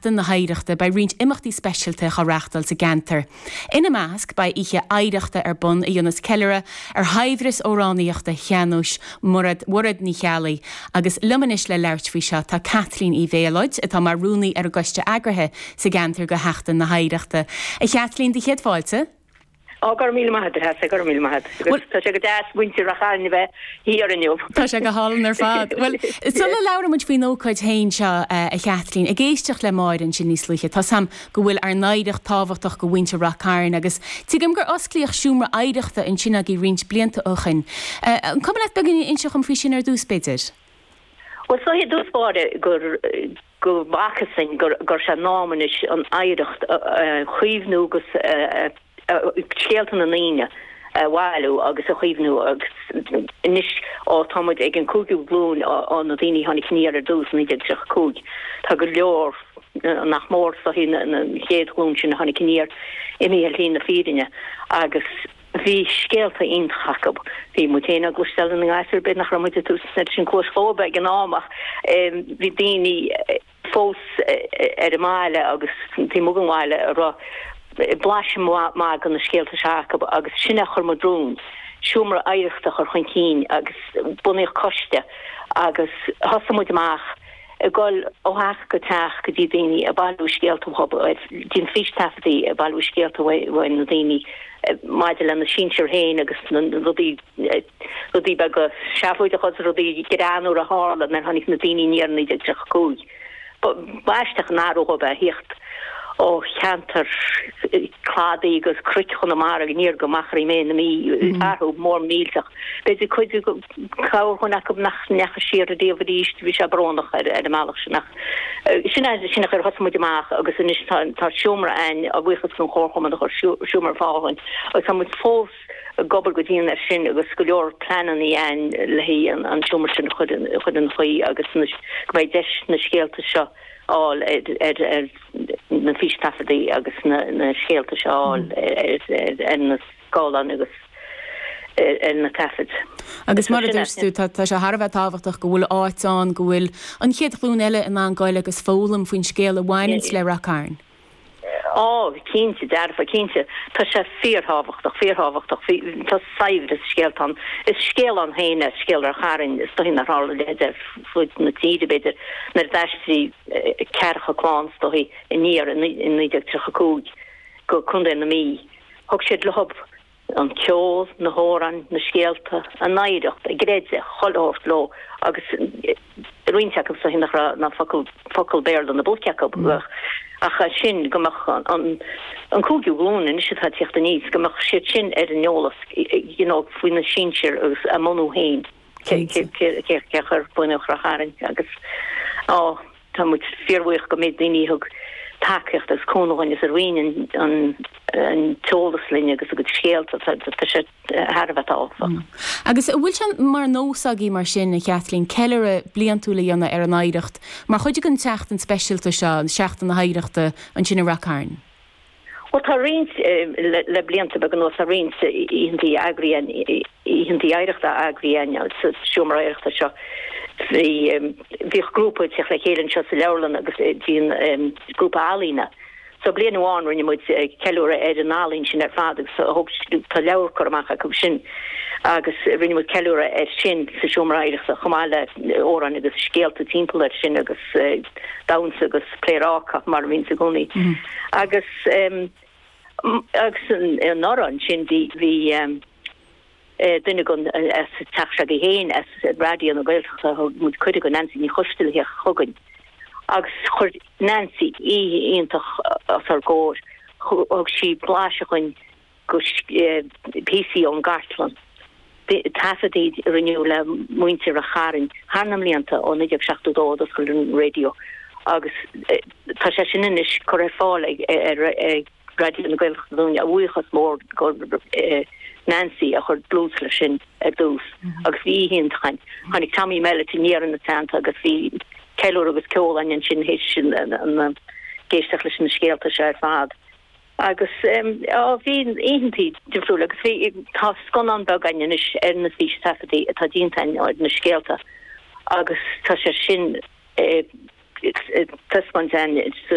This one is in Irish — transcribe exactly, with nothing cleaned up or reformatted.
Sheachtain na hOidhreachta beidh roinnt imeachtaí speisialta á reáchtáil sa gceantar. Ina measc beidh oíche oidhreachta ar bun a dhéanfas ceiliúradh ar shaibhreas amhránaíochta shean-nóis Mhairéad Mhairéad Ní Cheallaigh agus liom anois le labhairt faoi seo tá Kathleen Uí Mhéalóid atá mar rúnaí ar an gcoiste eagraithe sa gceantar go Sheachtain na hOidhreachta. A Chathleen de chéad fáilte? Á gur mí maith gur mí maith Tá sé go deas muintir Ráth Chairn bheith thiar inniu. Tá sé go hálainn ar fad. Well sula labhraíonn muid faoin ócáid féin seo a Chathleen ag éisteacht le Máire ansin níos luaithe Tá sam go bhfuil ár n-oidhreacht tábhachtach do mhuintir Ráth Chairn agus tuigim gur osclaíodh seomra oidhreachta ansin agaibh roinnt blianta ó shin. An cuma leat beagáinín a inse dom faoi sin ar dtús b'fhéidir. Well so dús báire gur go bhfacasainn gur gur sé in am anois an oidhreacht chaomhnú agus scéalta na ndaoine a bhailiú agus a chaomhnú agus anois ó tá muid ag an cúigiú glúin ó na daoine tháinig aniar ar dtús naoi déag tríocha cúig. Tá go leor nach mór so na chéad ghlúin sin tháinig aniar imithe ar shlí na fírinne agus bhí scéalta iontach acu. Bhí muid féin ag cloisteáil na ngasúr b'fhéidir nach raibh muid tús sin cluas chóba ag an am ach bhí daoine fós ar an mbaile agus tí an bhaile a raibh blaiseadh maith de na scéalta seo acu agus sin a chuir muid romhainn. Seomra oidhreachta chur chun cinn agus bunaíodh coiste agus thosaigh muid amach ag dul ó theach go teach go dtí daoine ag bailiú scéalta déanamh fístaifeadtaí ag bailiú scéalta ó na daoine maidir lena sinsir féin agus na rudaí rudaí beaga seafóideacha rudaí greannmhara a tharla nuair tháinig na daoine aniar naoi déag tríocha cúig. B'aisteach an athrú dóibh a theacht ó cheantar cladaí agus cnoic Chonamara aniar go Machairí Méith na Mí athrú mór millteach. B'fhéidir cuid corrdhuine acu nach ndeachaigh siar riamh arís bhí sé brónach ar ar an mbealach sin ach sin sin a chuir thosaigh muid amach agus anois tá tá seomra againn a bhuíochas don Chomharchumann a chuir seomra ar fáil dúinn agus tá muid fós ag obair go dian ar sin agus go leor pleananna againn le haghaidh an an seomra sin chur chur ina chaoi agus go mbeidh deis na scéalta seo fháil ar ar na fístaifeadtaí agus na na scéalta seo fháil ar ar na scáileáin agus ar na taifid. Agus mar a dúirt tú tá sé thar a bheith tábhachtach go bhfuil áit ann go bhfuil an chéad ghlúin eile in ann goil agus foghlaim faoin scéal a bhaineanns le Ráth Cairn. Á cinnte dearfa cinnte Tá sé fíorthábhachtach fíorthábhachtach tá saibhreas scéalta ann. Is scéal ann féin é scéal Ráth Chairn is dóichí nár tharla a leithéid ar fud na tíre b'fhéidir nuair a d'aistrigh ceathracha clann is dóichí aniar in naoi déag tríocha cúig go Contae na Mí. Thug siad leo an ceol, na hamhráin, na scéalta, a n-oidhreacht, a gcreideamh, chuile shórt leo agus roinnt acu is dóichí nach raibh ná focal focal Béarla ina bpúca acu ach sin go mbeadh an an cúigiú glúin anois atá ag teacht aníos go mbeadh siad sin ar an eolas you know faoi na sinsir agus a mbunú féin cé cé cé chuir bunaíodh Ráth Chairn agus á tá muid fíorbhuíoch go mbeidh daoine thug tacaíocht agus cúnamh dúinn is a roinn an an an t-eolas linn agus a gcuid scéalta tá sé thar a bheith tábhachtach. Agus an bhfuil sé mar nós agaibh mar sin a Chathleen ceiliúradh bliantúil a dhéanamh ar an oidhreacht mar chuid den tseachtain speisialta seo an Seachtain na hOidhreachta ansin i Ráth Cairn. Well tá roinnt le, le blianta beaga anuas tá roinnt oícheantaí eagraithe oícheantaí oidhreachta eagraithe sa seomra oidhreachta seo. Bhí bhíodh grúpa ag teacht le chéile anseo sa leabharlann agus bhíonn grúpa ealaíne. So bliain amháin rinne muid ceiliúradh ar an ealaín sin ar fad agus thug tá leabhar curtha amach acu sin agus rinne muid ceiliúradh ar sin sa seomra oidhreachta chomh maith le amhráin agus scéalta timpeall air sin agus damhsa agus pléaráca mar a bhíonn i gcónaí. Agus um, agus an ansin bhí bhí um, duine gon as teach s'agaibh féin as Raidió na Gaeltachta thug muid cuireadh do Nancy Ní Choisteala theacht chugainn. Agus chuir Nancy oíche iontach os ár gcomhair thug sí blaiseadh dúinn go píosaí ón gcartlann. Taifeadtaí a rinneadh le muintir Ráth Chairn thar na mblianta ó naoi déag seachtó dó d'oscail an raidió agus tá sé sin anois curtha ar fáil ag ar ag Raidió na Gaeltachta dúinn a bhuíochas mór go Nancy a chuir dlús leis sin ar dtús agus bhí iontach ann. Tháinig Tommy Mellett aniar ina teannta agus bhí ceiliúradh agus ceol ann sin théis sin an éisteacht leis na scéalta seo ar fad. Agus á bhí oícheantaí difriúil agus bhí tá scannán beag againn anois ar na fístaifeadtaí atá déanta ar na scéalta agus tá sé sin taispeáint sa